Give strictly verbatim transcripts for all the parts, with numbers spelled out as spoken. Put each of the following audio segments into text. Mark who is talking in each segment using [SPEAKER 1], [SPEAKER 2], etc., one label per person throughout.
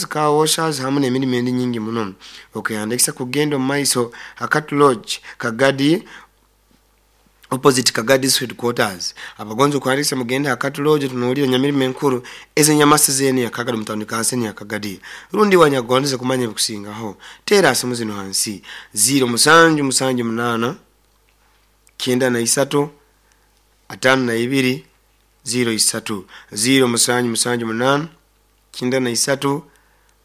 [SPEAKER 1] Car washers hamu n'emirimu endi nyingi muno. Okuhandikisa kugenda omu maiso Hakatu Lodge, Kagadi, opposite Kagadi District Headquarters. Abagonzi okuhandikisa mugende Hakatu Lodge, tunuulire nyamirimo enkuru ezenyamasi zene ya Kagadi mutawuni kanseni ya Kagadi. Rundi wanyagondeze kumanya ebikusingaho, teera simu zino hansi: ziro musanju musanju munana kyenda na isatu atano na ibiri ziro isatu, ziro musanju musanju munana kyenda na isatu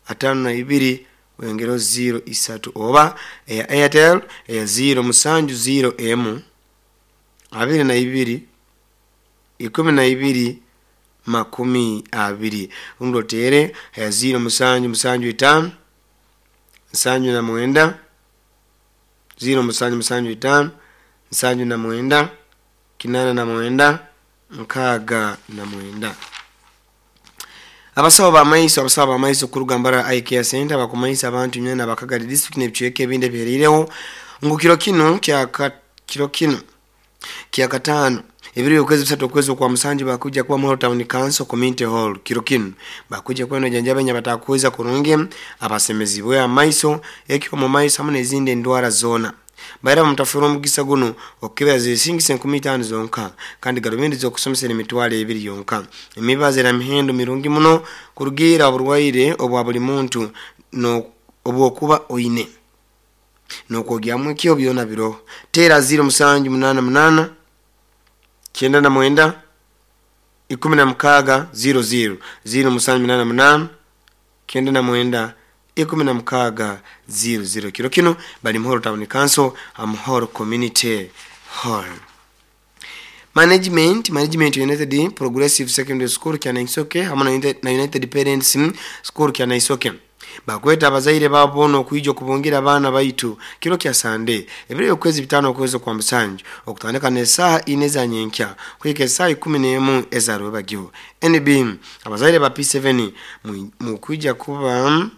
[SPEAKER 1] atano na ibiri wengero ziro isatu, oba eya Airtel eya ziro musanju ziro emu abiri na ibiri ikumi na ibiri makumi abiri, rundi otere eya ziro musanju musanju itano nsanju na mwenda, ziro musanju musanju itano nsanju na mwenda kinana na mwenda nkaaga na mwenda. Abasawo bamaiso, abasawo bamaiso kuruga Mbarara Eye Care Center bakumanyisa abantu nywena Bakagadi district n'ebicweka ebindi ebihereireho ngu kiro kinu kyaka kiro kinu kyakataano ebiro okwezi bisatu okwezi okwa musanju bakuja kuba Muhoro Town Council Community Hall. Kiro kinu bakuja kuba nojanjaba enya batakuweza kurungi, abasemezibwe amaiso, ekyo mu maiso hamu n'ezindi endwara zoona. Baira bamutafura omugisa guno okukebera zisingisa enkumi itaano zonka, kandi garubindi z'okusomesa emitwaro ebiri yonka. Emibazi era mihendo mirungi muno kurugiira oburwaire obwa buli muntu no obwokuba oine nokwogyamu ekyo byona biroho. Teera ziro musanju munana munana kyenda na mwenda ikumi na mukaaga ziro ziro, ziro musanju munana munana kyenda na mwenda ikumi na mukaaga ziro ziro. Kiro kinu bali Muhoro Town Council, Muhoro Community Hall. Management Management United Progressive Secondary School Kyanaisoke hamu na United, na United Parents School Kyanaisoke bakweta abazaire babo boona okwija okubungira abaana baitu kiro kya Sande ebiro okwezi bitano okwezi kwa musanju okutandika n'esaaha ine eza nyenkya kuhika esaaha ikumi n'emu eza rwebagyo. N B, abazaire ba P seven mukwija kuba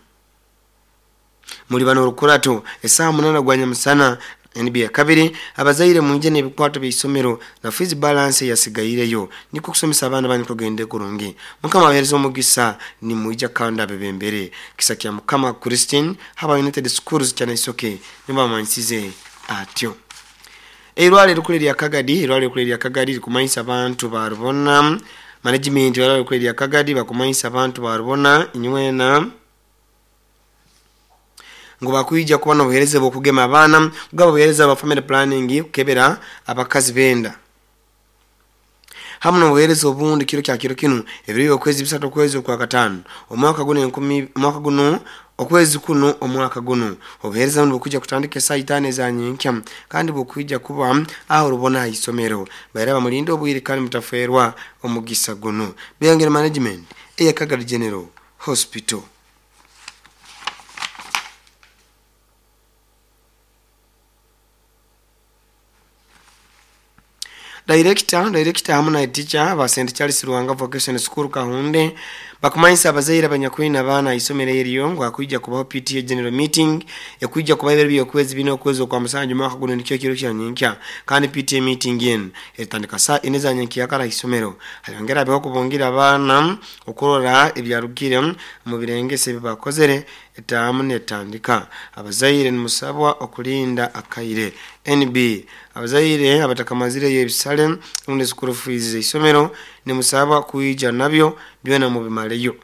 [SPEAKER 1] muli bano orukurato esaaha munana gwa nyamusana. N B ya kabiri, abazaire mwije n'ebikwato by'isomero na fees balance yasigaireyo niko kusomesa abaana banyu kugende kurungi. Mukama abahereza omugisa, nimwija kandi abebembere kisa kya Mukama. Christine haba United Schools Kyanaisoke nibamanyisize atyo. Eirwaliro erikuru erya Kagadi, eirwaliro erikuru erya Kagadi likumanyisa abantu barubona. Management erwaliro erikuru erya Kagadi bakumanyisa abantu barubona inywena ngu bakwija kuba n'obuheereza bw'okugema abaana, kugaba obuheereza bwa family planning, kukebera abakazi benda hamu n'obuheereza obundi kiro kya kiro kinu ebiro okwezi bisatu okwezi okwa kataano omwaka guno enkumi omwaka guno okwezi kuno omwaka guno. Obuheereza buno bukwija kutandika esaaha itaano eza nyenkya kandi bukwija kuba aho rubona aha isomero. Baira bamulinde obwire kandi mutafeerwa omugisa guno. Beyongera management eya Kagadi General Hospital. Director director hamu na teacher ba Saint Charles Ruhanga Vocation School Kahunde bakumanyisa abazaire abanyakwina abaana isomero eryo ngu akwija kubaho P T A General Meeting ekwija kuba ebiro by'okwezi bina okwezi okwa musanju mwaka guno nikyo kiro kya nyenkya, kandi P T A meeting enu etandika saa ine za nyenkya kara isomero. Hayongera abeho kubungira abaana okurora ebyarugire mu birengese ebi bakozere etaamu netandika. Abazaire nimusabwa okulinda akaire. N B, abazaire abatakamazireyo ebisale rundi school fees z'isomero nimusabwa kwija nabyo byona mubimaleyo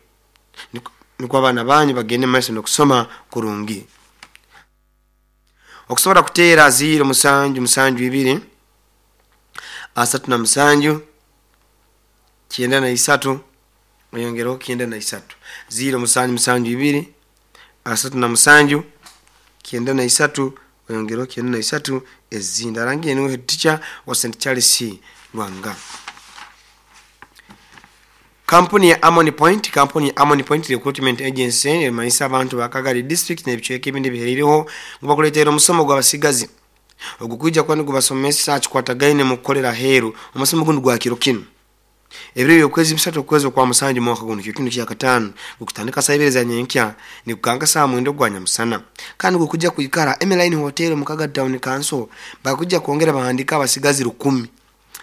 [SPEAKER 1] nikwo abaana banyu bagende maiso n'okusoma kurungi. Okusobola kuteera ziro musanju musanju ibiri asatu na musanju kyenda na isatu oyongereho kyenda na isatu, ziro musanju musanju ibiri asatu na musanju kyenda na isatu oyongereho kyenda na isatu ezindi. Arangiye niwe head teacher wa Saint Charles Lwanga. Kampuni ya Amoni Point, kampuni ya Amoni Point Recruitment Agency emanyisa abantu ba Kagadi district n'ebicweka ebindi bihereireho ngu bakuleetera omusomo gw'abasigazi ogukwija kuba nigubasomesa kikwatagaine mu kukolera aheeru. Omusomo gundi gwa kiro kinu ebiro by'okwezi bisatu okwezi okwa musanju mwaka guno kiro kinu kyakataano gukutandika saa ibiri za nyenkya nikukanga saa mwenda ogwa nyamusana, kandi gukujja kwikara Emeline Hotel mu Kagadi Town Council. Bakujja kwongera bahandika abasigazi rukumi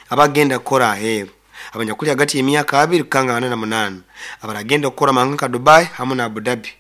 [SPEAKER 1] abagenda kukora aheeru, abanyakuli hagati y'emyaka abiri kukanga ana na munaana, abaragenda kukora mahanga nka Dubai hamu na Abu Dhabi.